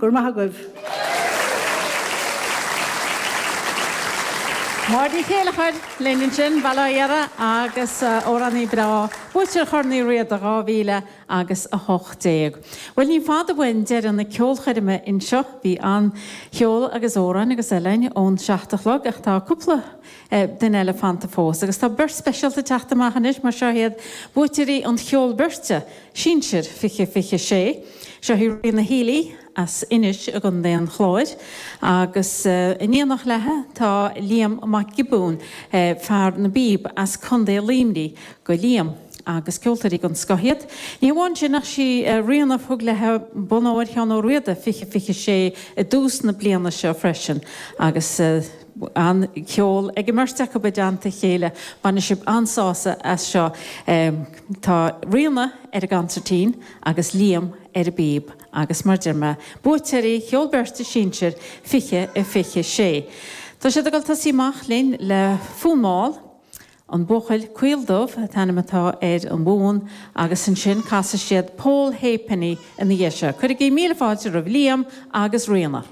Go raibh maith agaibh. Máire Ní Chéilleachair linn ansin, Baile Átha Dheartha agus amhránaí breá, buaiteoir Chorn Uí Riada 2000 agus 18. Bhuel, ní fada uainn deireadh na ceolchoirme anseo. Bhí an-cheol agus amhráin agus eile againn ón 7 a chlog ach tá cúpla duine eile fanta fós. Agus tá beirt speisialta ag teacht amach anois mar seo iad buaiteoirí an cheoil beirte, Sinsir 2026. Seo í Ríona Healy as Inis i gContae an Chláir agus in éineacht léi tá Liam Mac Giobúin, fear na bpíob as Contae Luimnigh go Liam agus ceoltóirí den scoth iad. Ní hamháin sin ach sí Ríona a thug léi Bonn Óir Sheán Ó Riada 2026 i dtús na bliana seo freisin agus an-cheol ag an mbeirt acu i dteannta a chéile. Bainfidh sibh an-sásamh as seo. Tá Ríona ar an gconsairtín agus Liam ar an bpíob agus mar deir mé, buaiteoirí Cheol Beirte Sinsir 2026. Tá siad ag dul tosaí amach linn le Fonn Mall, An Buachaill Caol Dubh an t-ainm atá ar an bhfonn agus ansin casfaidh siad Poll Halfpenny ina dhiaidh seo. Cuirigí míle fáilte roimh Liam agus Ríona.